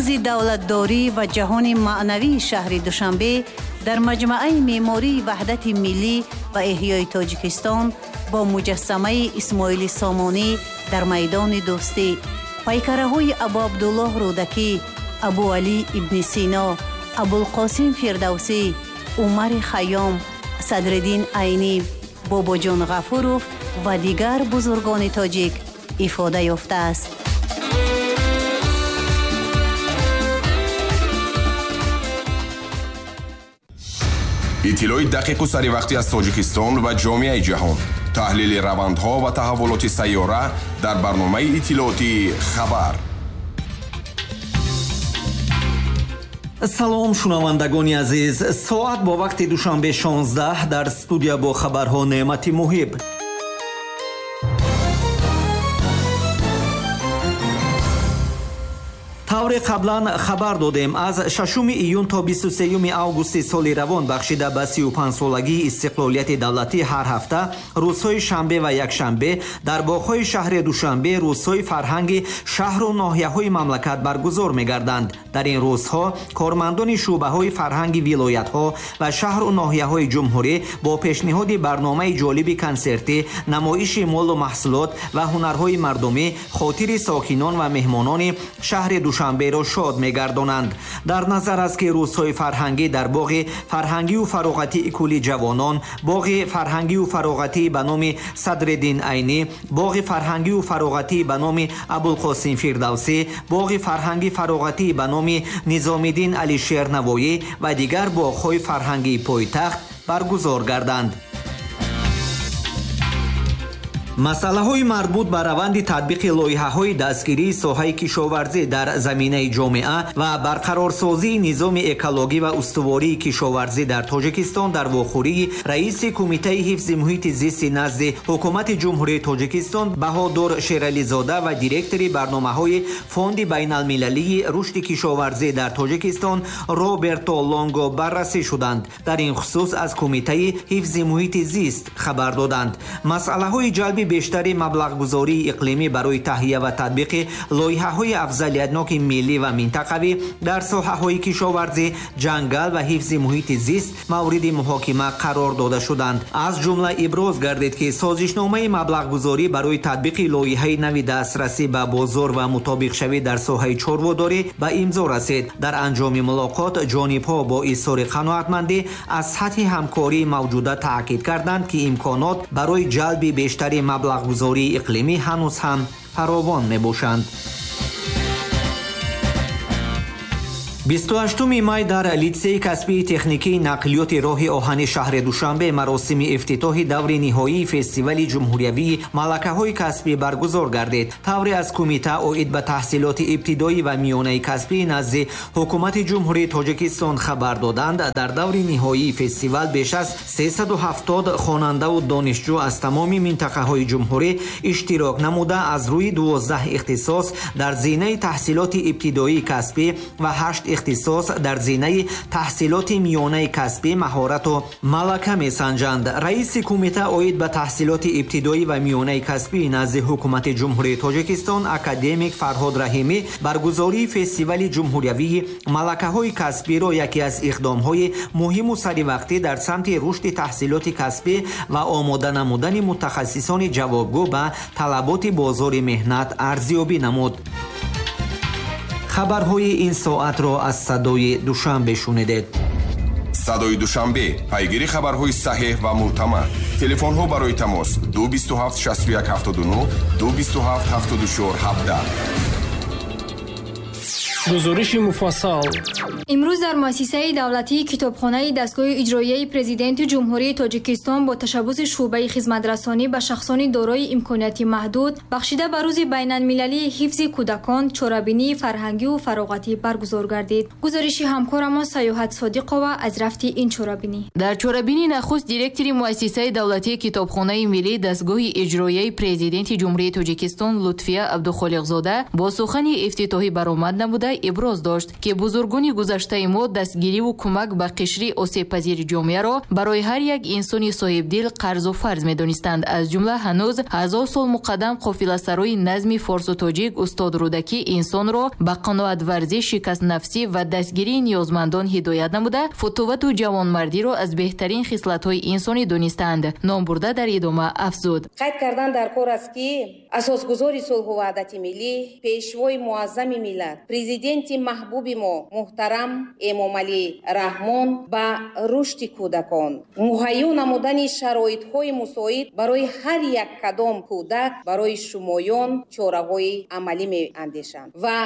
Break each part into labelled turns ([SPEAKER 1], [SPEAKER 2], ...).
[SPEAKER 1] Рамзи давлатдорӣ ва ҷаҳони маънавии шаҳри Душанбе дар маҷмӯаи меъмории Ваҳдати Миллӣ ва Эҳёи Тоҷикистон бо муҷассамаи Исмоили Сомонӣ дар майдони Дӯстӣ, пайкараҳои Абуабдуллоҳ Рӯдакӣ, Абуалӣ ибни Сино, Абулқосим Фирдавсӣ, Умари Хайём, Садриддин Айнӣ, Бобоҷон Ғафуров ва дигар бузургони тоҷик ифода ёфтааст.
[SPEAKER 2] Иттилои дақиқу саривақтӣ аз Тоҷикистон ва ҷомеаи ҷаҳон, таҳлили равандҳо ва таҳаввулоти сайёра дар барномаи иттилоотии «Хабар».
[SPEAKER 3] Салом, шунавандагони азиз. Соат бо вақти Душанбе 16, дар студия бо хабарҳо Неъмати Муҳиб. Тавре қаблан хабар додем, аз 6 июн то 23 августи соли равон бахшида ба 35-солагии истиқлолияти давлатӣ ҳар ҳафта рӯзҳои шанбе ва якшанбе дар боғҳои шаҳри Душанбе рӯзҳои фарҳанги шаҳру ноҳияҳои мамлакат баргузор мегарданд. Дар ин рӯзҳо кормандони шӯъбаҳои фарҳанги вилоятҳо ва шаҳру ноҳияҳои ҷумҳурӣ бо пешниҳоди барномаи ҷолиби консертӣ, намоиши молу маҳсулот ва ҳунарҳои мардумӣ хотири сокинон ва меҳмонони шаҳри Душанберо шод мегардонанд. Дар назар аст, ки рӯзҳои фарҳангӣ дар боғи фарҳангию фароғатии Кӯли ҷавонон, боғи фарҳангию фароғатии ба номи Садриддин Айнӣ, боғи фарҳангию фароғатии ба номи Абулқосим Фирдавсӣ, боғи фарҳанги фароғатии ба номи Низомиддин Алишер Навоӣ ва дигар боғҳои фарҳангии пойтахт баргузор гарданд. Масъалаҳои марбут ба раванди татбиқи лоиҳаҳои дастгирии соҳаи кишоварзӣ дар заминаи ҷомеа ва барқарорсозии низоми экологӣ ва устувории кишоварзӣ дар Тоҷикистон дар вохӯрии раиси Кумитаи ҳифзи муҳити зисти назди Ҳукумати Ҷумҳурии Тоҷикистон Баҳодур Шерализода ва директори барномаҳои Фонди байналмилалии рушди кишоварзӣ дар Тоҷикистон Роберто Лонго баррасӣ шуданд. Дар ин хусус аз Кумитаи ҳифзи муҳити зист хабар доданд. Масъалаҳои ҷалби бештари маблағгузории иқлимӣ барои таҳия ва татбиқи лоиҳаҳои афзалиятноки миллӣ ва минтақавӣ дар соҳаҳои кишоварзӣ, ҷангал ва ҳифзи муҳити зист мавриди муҳокима қарор дода шуданд. Аз ҷумла иброз гардид, ки созишномаи маблағгузорӣ барои татбиқи лоиҳаи нави дастрасӣ ба бозор ва мутобиқшавӣ дар соҳаи чорводорӣ ба имзо расид. Дар анҷоми мулоқот ҷонибҳо бо изҳори қаноатмандӣ аз сатҳи ҳамкории мавҷуда таъкид карданд, ки имконот барои ҷалби бештари маблағгузории иқлимӣ ҳанӯз ҳам фаровон мебошанд. 28 май дар литсеи касбии техникии нақлиёти роҳи оҳани шаҳри Душанбе маросими ифтитоҳи даври ниҳоии фестивали ҷумҳуриявии малакаҳои касбӣ баргузор гардид. Тавре аз кумита оид ба таҳсилоти ибтидоӣ ва миёнаи касбӣ назди Ҳукумати Ҷумҳурии Тоҷикистон хабар доданд, дар даври ниҳоии фестивал беш аз 370 хонандаву донишҷӯ аз тамоми минтақаҳои ҷумҳурӣ иштирок намуда, аз рӯи 12 ихтисос дар зинаи таҳсилоти ибтидоии касбӣ ва 8 ихтисос дар зинаи таҳсилоти миёнаи касбӣ маҳорату малака месанҷанд. Раиси кумита оид ба таҳсилоти ибтидоӣ ва миёнаи касбӣ назди Ҳукумати Ҷумҳурии Тоҷикистон академик Фарҳод Раҳимӣ баргузории фестивали ҷумҳуриявии малакаҳои касбиро яке аз иқдомҳои муҳиму саривақтӣ дар самти рушди таҳсилоти касбӣ ва омода намудани мутахассисони ҷавобгӯ ба талаботи бозори меҳнат арзёбӣ намуд. Хабарҳои ин соатро аз Садои Душанбе шунидед.
[SPEAKER 2] Садои Душанбе, пайгири хабарҳои саҳеҳ ва мӯътамад. Телефонҳо барои тамос 227 61 79, 227 74 17.
[SPEAKER 4] Гузориши муфассал.
[SPEAKER 5] Имрӯз дар муассисаи давлатии китобхонаи дастгоҳи иҷроияи Президенти Ҷумҳурии Тоҷикистон бо ташаббуси шӯъбаи хизматрасонӣ ба шахсони дорои имконияти маҳдуд бахшида ба рӯзи байналмилалии ҳифзи кӯдакон чорабинии фарҳангию фароғатӣ баргузор гардид. Гузориши ҳамкорамон Саёҳат Содиқова аз рафти ин чорабинӣ.
[SPEAKER 6] Дар чорабинӣ нахуст директори муассисаи давлатии китобхонаи миллии дастгоҳи иҷроияи Президенти Ҷумҳурии Тоҷикистон Лутфия Абдухолиқзода бо сухани ифтитоҳӣ баромад намуда намуда иброз дошт, ки бузургони гузаштаи мо дастгириву кӯмак ба қишри осебпазири ҷомеаро барои ҳар як инсони соҳибдил қарзу фарз медонистанд. Аз ҷумла ҳанӯз 1000 сол муқаддам қофиласарои назми форсу тоҷик устод Рӯдакӣ инсонро ба қаноатварзӣ, шикастнафсӣ ва дастгирии ниёзмандон ҳидоят намуда, футувату ҷавонмардиро аз беҳтарин хислатҳои инсонӣ донистанд. Номбурда дар идома афзуд:
[SPEAKER 7] қайд кардан дар кор аст, ки асосгузори сулҳу ваҳдати миллӣ, пешвои муаззами миллат, президенти маҳбуби мо муҳтарам Эмомалӣ Раҳмон ба рушди кӯдакон, муҳайё намудани шароитҳои мусоид барои ҳар як кадом кӯдак, барои шумоён чораҳои амалӣ меандешанд ва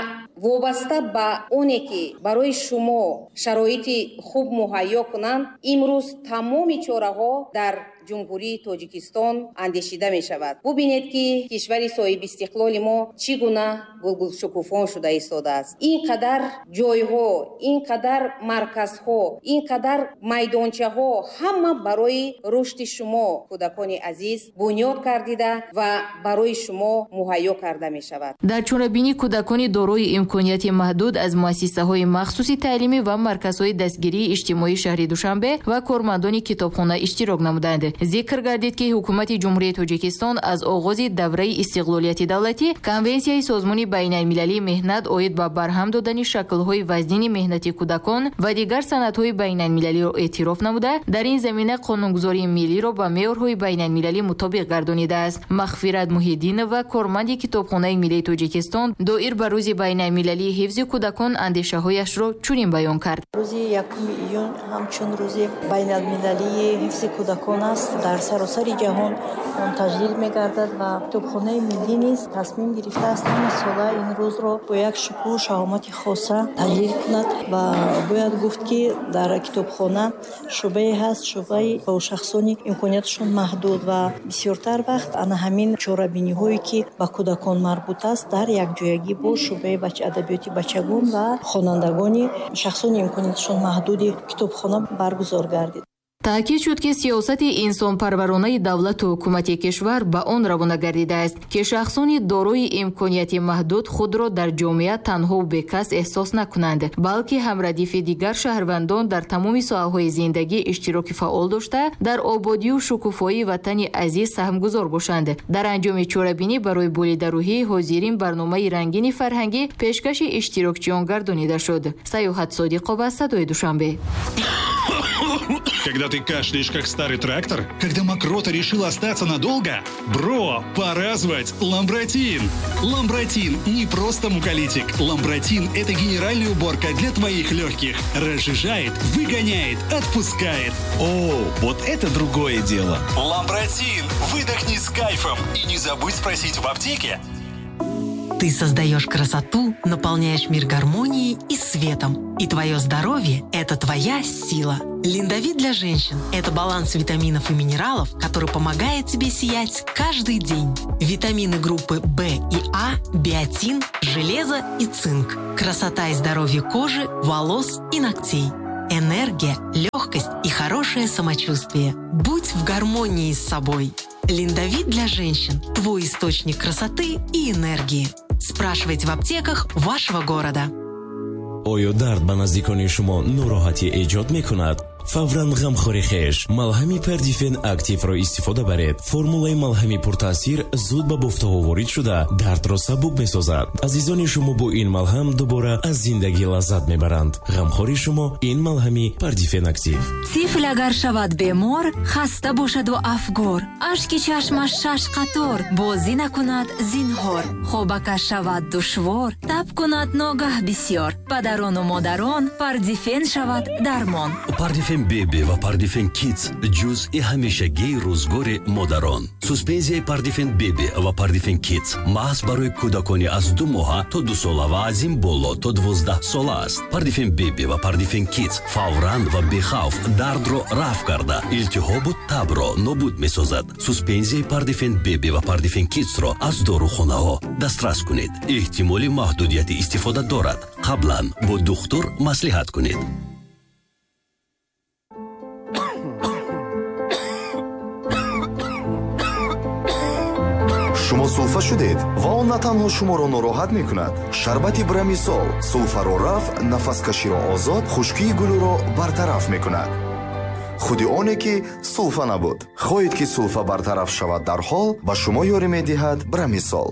[SPEAKER 7] вобаста ба оне ки барои шумо шароити хуб муҳайё кунанд, имрӯз тамоми чораҳо дар Ҷумҳурии Тоҷикистон андешида мешавад. Бубинед, ки кишвари соҳибистиқлоли мо чӣ гуна гулгулшукуфон шуда истодааст. Ин қадар ҷойҳо, ин қадар марказҳо, ин қадар майдончаҳо ҳама барои рушди шумо, кӯдакони азиз, бунёд кардида ва барои шумо муҳайё карда мешавад.
[SPEAKER 6] Дар чорабинӣ кӯдакони дорои имконияти маҳдуд аз муассисаҳои махсуси таълимӣ ва марказҳои дастгирии иҷтимоии шаҳри Душанбе ва кормандони китобхона иштирок намуданд. Зикр гардид, ки ҳукумати Ҷумҳурии Тоҷикистон аз оғози давраи истиқлолияти давлатӣ Конвенсияи Созмони байналмилалии меҳнат оид ба барҳам додани шаклҳои вазнини меҳнати кӯдакон ва дигар санадҳои байналмилалиро эътироф намуда, дар ин замина қонунгузории миллиро ба меъёрҳои байналмилалӣ мутобиқ гардонидааст. Мағфират Муҳиддинова, корманди Китобхонаи миллии Тоҷикистон, доир ба Рӯзи байналмилалии ҳифзи кӯдакон андешаҳояшро чунин баён кард:
[SPEAKER 8] Рӯзи 1 июн ҳамчун Рӯзи байналмилалии ҳифзи кӯдакон аст. Дар саросари ҷаҳон он таҷлил мегардад ва Китобхонаи миллӣ низ тасмим гирифтааст ҳама сола ин рӯзро бо як шукӯҳу шаҳомати хоса таҷлил кунад. Ва бояд гуфт, ки дар китобхона шӯъбае ҳаст, шӯъбаи бо шахсони имконияташон маҳдуд, ва бисёртар вақт ана ҳамин чорабиниҳое ки ба кӯдакон марбут аст, дар якҷоягӣ бо шӯъбаи адабиёти бачагон ва хонандагони шахсони имконияташон маҳдуди китобхона баргузор гардид.
[SPEAKER 6] Таъкид шуд, ки сиёсати инсонпарваронаи давлату ҳукумати кишвар ба он равона гардидааст, ки шахсони дорои имконияти маҳдуд худро дар ҷомеа танҳову бекас эҳсос накунанд, балки ҳамрадифи дигар шаҳрвандон дар тамоми соҳаҳои зиндагӣ иштироки фаъол дошта, дар ободию шукуфоии ватани азиз саҳмгузор бошанд. Дар анҷоми чорабинӣ барои болидарӯҳии ҳозирин барномаи рангини фарҳангӣ пешкаши иштирокчиён гардонида шуд. Саёҳат Содиқова, Садои Душанбе.
[SPEAKER 9] Когда ты кашляешь, как старый трактор? Когда мокрота решила остаться надолго? Бро, пора звать Ламбратин! Ламбратин не просто муколитик. Ламбратин – это генеральная уборка для твоих легких. Разжижает, выгоняет, отпускает.
[SPEAKER 10] О, вот это другое дело!
[SPEAKER 9] Ламбратин! Выдохни с кайфом и не забудь спросить в аптеке.
[SPEAKER 11] Ты создаешь красоту, наполняешь мир гармонией и светом. И твое здоровье – это твоя сила. Линдовит для женщин – это баланс витаминов и минералов, который помогает тебе сиять каждый день. Витамины группы В и А, биотин, железо и цинк. Красота и здоровье кожи, волос и ногтей. Энергия, легкость и хорошее самочувствие. Будь в гармонии с собой. Линдовит для женщин – твой источник красоты и энергии. Спрашивайте в аптеках вашего города.
[SPEAKER 12] Оё дард ба наздикони шумо нороҳатӣ эҷод мекунад? Фавран ғамхори хеш малҳами Пардифен Активро истифода баред. Формулаи малҳами пуртаъсир зуд ба бофтаҳо ворид шуда, дардро сабук месозад. Азизони шумо бо ин малҳам дубора аз зиндагӣ лаззат мебаранд. Ғамхори шумо ин малҳами Пардифен Актив.
[SPEAKER 13] Тифл агар шавад бемор, хаста бошаду афгор, ашки чашмаш шаш қатор, бозӣ накунад зинҳор, хобакаш шавад душвор, таб кунад ногаҳ бисёр, падарону модарон, Пардифен шавад дармон.
[SPEAKER 14] Пардифен Беби ва Пардифен Кидс ҷузъи ҳамешагии рӯзгори модарон. Суспензияи Пардифен Беби ва Пардифен Кидс маҳз барои кӯдакони аз 2 моҳа то 2 сола ва аз ин боло то 12 сола аст. Пардифен Беби ва Пардифен Кидс фавран ва бехавф дардро рафъ карда, илтиҳобу табро нобуд месозад. Суспензияи Пардифен Беби ва Пардифен Кидсро аз дорухонаҳо дастрас кунед. Эҳтимоли маҳдудияти истифода дорад. Қаблан бо духтур маслиҳат кунед.
[SPEAKER 15] Шумо сулфа шудед ва он на танҳо шуморо нороҳат мекунад. Шарбати Брамисол сулфаро рафъ, нафаскаширо озод, хушкии гулӯро бартараф мекунад. Худи оне ки сулфа набуд. Хоҳед ки сулфа бартараф шавад дарҳол, ба шумо ёрӣ медиҳад Брамисол.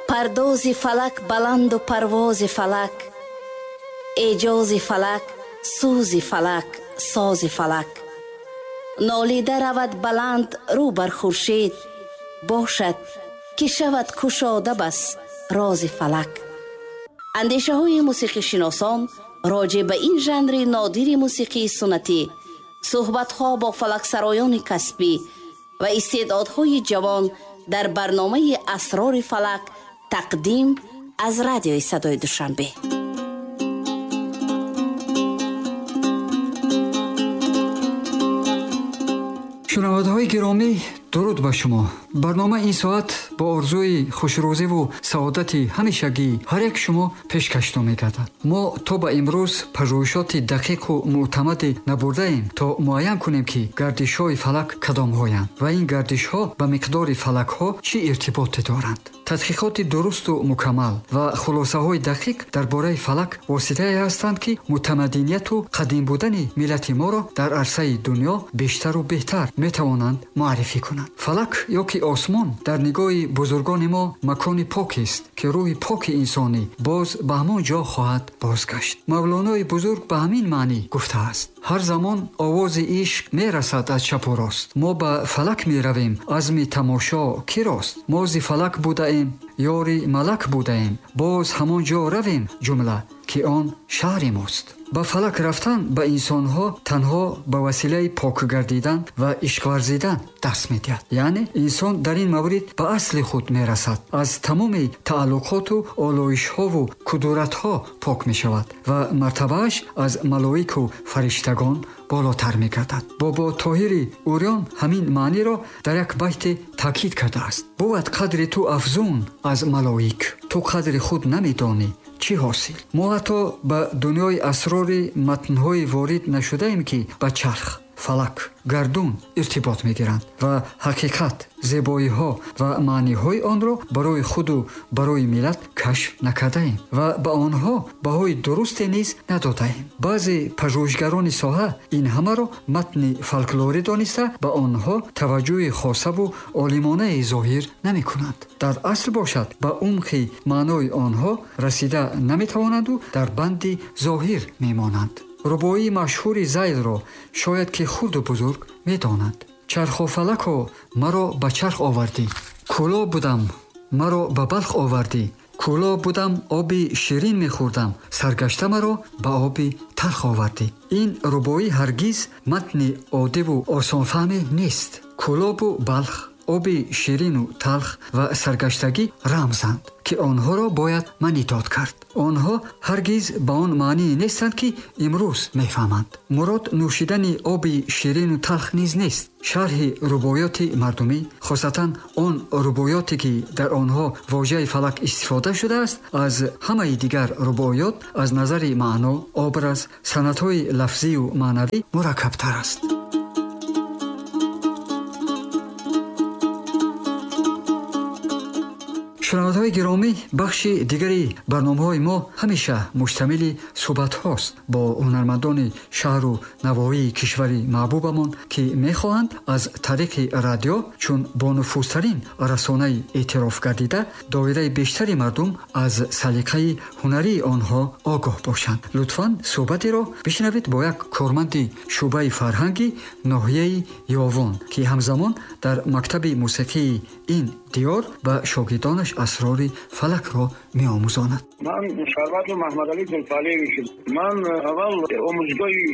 [SPEAKER 1] Пардози фалак баланду парвози фалак, эъҷози фалак, сӯзи фалак, сози фалак. Нолида равад баланд рӯ бар хуршед, бошад ки шавад кушода бас рози фалак. Андешаҳои мусиқишиносон роҷеъ ба ин жанри нодири мусиқии суннатӣ, суҳбатҳо бо фалаксароёни касбӣ ва истеъдодҳои ҷавон дар барномаи Асрори фалак, тақдим аз радиои Садои Душанбе.
[SPEAKER 16] Шунавандаҳои гиромӣ, дуруд ба шумо. Барнома ин соат бо орзуи хушрӯзиву саодати ҳамешагии ҳар як шумо пешкаштон мегардад. Мо то ба имрӯз пажӯҳишоти дақиқу мӯътамаде набурдаем, то муайян кунем, ки гардишҳои фалак кадомҳоянд ва ин гардишҳо ба миқдори фалакҳо чӣ иртиботе доранд. Тадқиқоти дурусту мукаммал ва хулосаҳои дақиқ дар бораи фалак воситае ҳастанд, ки мутамаддинияту қадим будани миллати моро дар арсаи дунё бештару беҳтар метавонанд муаррифӣ кунанд. Фалак ё ки осмон дар нигоҳи бузургони мо макони покест, ки рӯҳи поки инсонӣ боз ба ҳамон ҷо хоҳад бозгашт. Мавлонои бузург ба ҳамин маънӣ гуфтааст: ҳар замон овози ишқ мерасад аз чапу рост, мо ба фалак меравем, азми тамошо кӣ рост? Мо зи фалак будаем, ёри малак будаем, боз ҳамон ҷо равем ҷумла, ки он шаҳри мост. Ба фалак рафтан ба инсонҳо танҳо ба василаи пок гардидан ва ишқварзидан даст медиҳад. Яъне инсон дар ин маврид ба асли худ мерасад, аз тамоми тааллуқоту олоишҳову кудуратҳо пок мешавад ва мартабааш аз малоику фариштагон болотар мегардад. Бобо Тоҳири Урён ҳамин маъниро дар як байте таъкид кардааст: бувад қадри ту афзун аз малоик, ту қадри худ намедонӣ, чӣ ҳосил? Мо ҳатто ба дунёи асрори матнҳои ворид нашудаем, ки ба чарх, фалак, гардун иртибот мегиранд ва ҳақиқат, зебоиҳо ва маъниҳои онро барои худу барои миллат кашф накардаем ва ба онҳо баҳои дурусте низ надодаем. Баъзе пажӯҳишгарони соҳа ин ҳамаро матни фолклорӣ дониста, ба онҳо таваҷҷӯҳи хосаву олимонае зоҳир намекунанд. Дар асл бошад, ба умқи маънои онҳо расида наметавонанду дар банди зоҳир мемонанд. Рубоии машҳури Зайлро шояд ки хурду бузург медонанд: чархофалако, маро ба чарх овардӣ, кӯло будам, маро ба Балх овардӣ, кӯло будам, оби ширин мехӯрдам, саргашта маро ба оби талх овардӣ. Ин рубоӣ ҳаргиз матни оддиву осонфаҳме нест. Кӯлобу Балх, оби ширину талх ва саргаштагӣ рамзанд, ки онҳоро бояд маънидод кард. Онҳо ҳаргиз ба он маъние нестанд, ки имрӯз мефаҳманд. Мурод нӯшидани оби ширину талх низ нест. Шарҳи рубоёти мардумӣ, хосатан он рубоёте ки дар онҳо вожаи фалак истифода шудааст, аз ҳамаи дигар рубоёт аз назари маъно, образ, санъатҳои лафзию маънавӣ мураккабтар аст. Шунавандаҳои гиромӣ, бахши дигари барномаҳои мо ҳамеша муштамили суҳбатҳост бо ҳунармандони шаҳру навоҳии кишвари маҳбубамон, ки мехоҳанд аз тариқи радио, чун бонуфузтарин расонаи эътироф гардида, доираи бештари мардум аз салиқаи ҳунарии онҳо огоҳ бошанд. Лутфан суҳбатеро бишнавед бо як корманди шӯъбаи фарҳанги ноҳияи Ёвон, ки ҳамзамон дар мактаби мусиқии ин диёр ба шогирдонаш асрори фалакро меомӯзонад.
[SPEAKER 17] Ман Шарбатов Маҳмадалӣ Зулфалиевич. Ман аввал омӯзгоҳи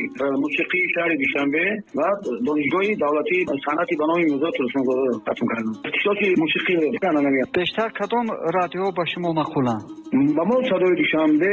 [SPEAKER 17] мусиқии шаҳри Душанбе ва донишгоҳи давлатии санъати ба номи Мирзо Турсунзода хатм кардам. Ихтисоси мусиқӣ.
[SPEAKER 16] Бештар кадом радио ба шумо маъқуланд?
[SPEAKER 17] Ба мо Садои Душанбе,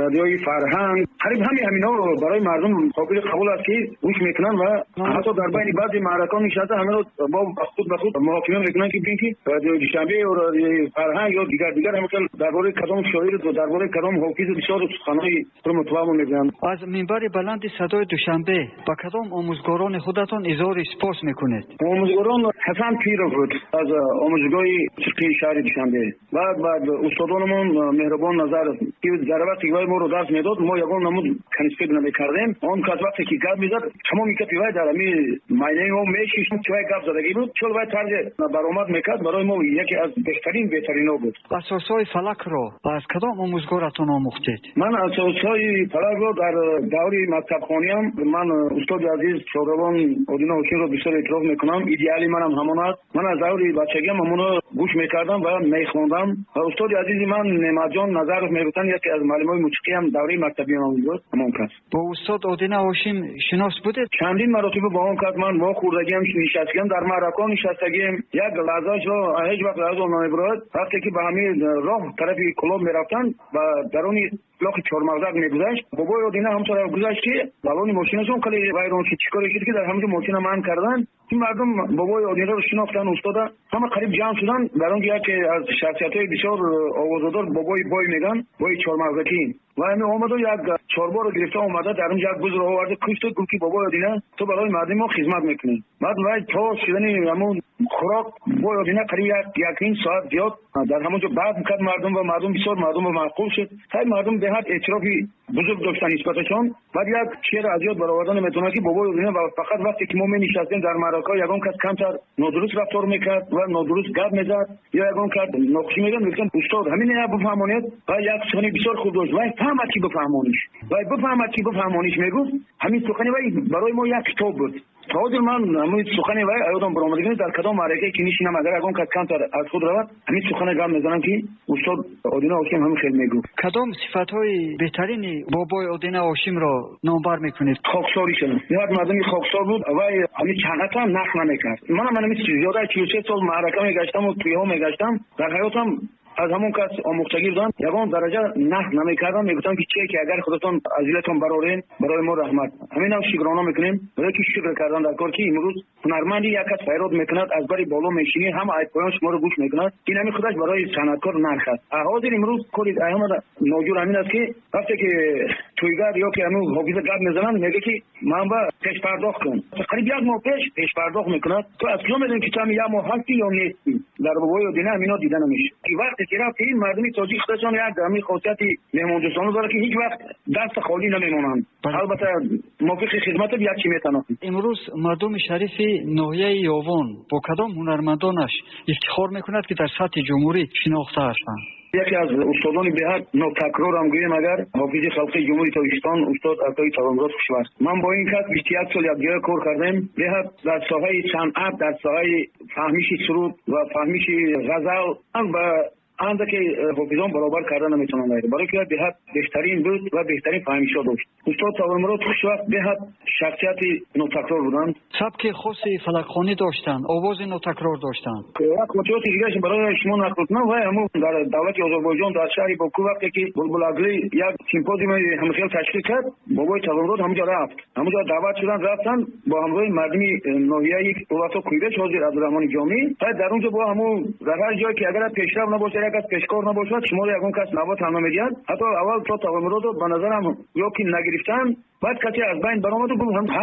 [SPEAKER 17] радиои Фарҳанг, қариб ҳамаи ҳаминҳо барои мардум қобили қабул аст, ки гӯш мекунанд ва ҳатто дар байни баъзе маъракаҳо нишаста ҳамаро бо худ ба худ муҳокима мекунанд, ки бигӯянд, ки радиои Душанбе ё радиои Фарҳанг ё дигар ҳамин хел дар бораи бораи кадом шоир, дар бораи кадом ҳофиз бисёр суханҳои пурмутавамо мегӯянд.
[SPEAKER 16] Аз минбари баланди садои Душанбе ба кадом омӯзгорони худатон изҳори сипос мекунед?
[SPEAKER 17] Омӯзгорон Ҳасан Пиров буд аз омӯзгоҳи мусиқии шаҳри Душанбе. Баъд устодонамон Меҳрубон Назаров, ки дар вақте ки вай моро дарс медод, мо ягон намуд конспект намекардем. Он кас вақте ки гап мезад, тамоми гапи вай дар ҳамин майнаи мо мешишт, ки вай гап задагӣ буд. Чун вай тарзи баромад мекард, барои мо яке аз беҳтаринҳо буд.
[SPEAKER 16] Асосҳои фалакро аз кадом омӯзгоратон омӯхтед?
[SPEAKER 17] Ман асосҳои фалакро дар даври мактабхониам, ман устоди азиз Шодравон Одина Ҳошимро бисёр эътироф мекунам. Идеали манам ҳамон аст. Ман аз даври бачагиам ҳамонро гӯш мекардам ва мехондам. Ва устоди азизи ман Неъматҷон Назаров мегуфтанд, яке аз муаллимои мусиқиам давраи мактабиам буд, ҳамон кас.
[SPEAKER 16] Бо устод Одина Ҳошим шинос будед?
[SPEAKER 17] Чандин маротиба бо он кас ман вохӯрдагиам, нишастагиам, дар маъракаҳо нишастагиам. Як лаҳзаашро ҳеҷ вақт лаҳза намебурад. Вақте ки ба ҳамин роҳ тарафи Кӯлоб мерафтанд, ба даруни лохи Чормағзак мегузашт. Бобои Одина ҳам тараф гузашт, ки балони мошинашон хеле вайрон шуд. Чӣ коре шуд, ки дар ҳамонҷо мошина манъ карданд. Ин мардум бобои Одинаро шинохтанд, устода ҳама қариб ҷамъ шуданд. Дар он ҷо яке аз шахсиятҳои бисёр овозадор бобои бой меган, бой Чормағзакӣ. Ва ҳамин омаду як чорборо гирифта омада, дар он ҷо як бузро оварда кушту гуфт, ки бобои Одина, ту барои мардуми мо хизмат мекунӣ. Баъд вай то шудани ҳамон хӯрок бобои Одина қариб як ним соат зиёд дар ҳамон ҷо баҳс кард мардум, ва мардум бисёр мардумро маъқул шуд. Ҳай мардум беҳад эътирофи бузург доштан нисбаташон. Баъд як шеър аз ёд баровардан метавонад, ки бобои Одина фақат вақте ки мо менишастем дар маъракаҳо, ягон кас камтар нодуруст рафтор мекард ва нодуруст гап мезад ё ягон кас нохушӣ мегӯяд, мегуфтанд устод ҳамин я бифаҳмонед. Ва як сухани бисёр хуб дошт, вай фаҳмад ки бифаҳмониш, вай бифаҳмад ки бифаҳмониш мегуфт. Ҳамин сухани вай барои мо як китоб буд. То ҳозир ман ҳамин сухани вай ёдам баромадагӣ, дар кадом маъракае ки нишинам, агар ягон кас камтар аз худ равад, ҳамин сухане гап мезанам, ки устод Одина Ҳошим ҳамин хел мегуфт.
[SPEAKER 16] Кадом сифатҳои беҳтарини бобои Одина Ҳошимро номбар мекунед?
[SPEAKER 17] Хоксорӣ шуд. Як мардуми хоксор буд, вай ҳамин санъатам нақл намекард. Манам ҳамин зиёда аз 43 сол маърака мегаштам ва туйҳо мегаштам. Дар ҳаётам аз ҳамон кас омӯхтагӣ будам, ягон дараҷа нақл намекардам. Мегуфтам, ки чие ки агар худатон аз дилатон барорен, барои мо раҳмат. Ҳаминам шукрона мекунем, барои ки шукр кардан дар кор, ки имрӯз ҳунарманди як кас файрод мекунад, аз бари боло мешинӣ, ҳама аз поён шуморо гӯш мекунад. Ин ҳамин худаш барои санъаткор нарх аст. Ҳозир имрӯз кори ҳама ноҷур ҳамин аст, ки вақте ки тӯйгар ё ки ҳамин ҳофиза гап мезананд, мегӯяд, ки ман ба пешпардохт кун. Қариб як моҳ пеш пешпардохт мекунад. Ту аз куҷо медонӣ, ки ту ҳамин як моҳ ҳастӣ ё нестӣ? Дар бобои Одина ҳамино дида намешавад. Вақте ки рафти, ин мардуми тоҷик худашон як ҳамин хосияти меҳмондӯстона дорад, ки ҳеҷ вақт даст холӣ намемонанд. Албатта мувофиқи хидматат як чӣ метавонад.
[SPEAKER 16] Имрӯз мардуми шарифи ноҳияи Ёвон бо кадом ҳунармандонаш ифтихор мекунад, ки дар сатҳи ҷумҳурӣ шинохта ҳастанд?
[SPEAKER 17] Яке аз устодони беҳад нотакрорам гӯем агар, ҳофизи халқии Ҷумҳурии Тоҷикистон устод Атои Тавонмурод Хушбахт. Ман бо ин кас 21 сол якҷоя кор кардем. Беҳад дар соҳаи санъат, дар соҳаи фаҳмиши суруд ва фаҳмиши ғазал ман ба андаке ҳофизон баробар карда наметавонам, барои ки беҳад беҳтарин буд ва беҳтарин фаҳмишҳо дошт. Устод Тавонмурод Хушбахт беҳад шахсияти нотакрор буданд.
[SPEAKER 16] Сабки хоси фалакхонӣ доштанд, овози нотакрор доштанд.
[SPEAKER 17] Як хотироти дигараш барои шумо нақл кунам. Вай ҳамун дар давлати Озарбойҷон дар шаҳри Боку вақте ки Булбулагли як симпозиуми ҳамхел ташкил кард, бобои Тавонмурод ҳамунҷо рафт. Ҳамунҷо даъват шуданд, рафтанд бо ҳамроҳи мардуми ноҳияи Улато Куйбеш, ҳозир Абдураҳмони Ҷомӣ. Дар онҷо бо ҳамун дар ҳар ҷое ки агар пешрав набошад, як аз пешкор набошад, шуморо ягон кас навбат ҳам намедиҳад. Ҳатто аввал то Тавонмуродро ба назарам ё ки нагирифтанд, баъд касе аз байн баромаду гуфт.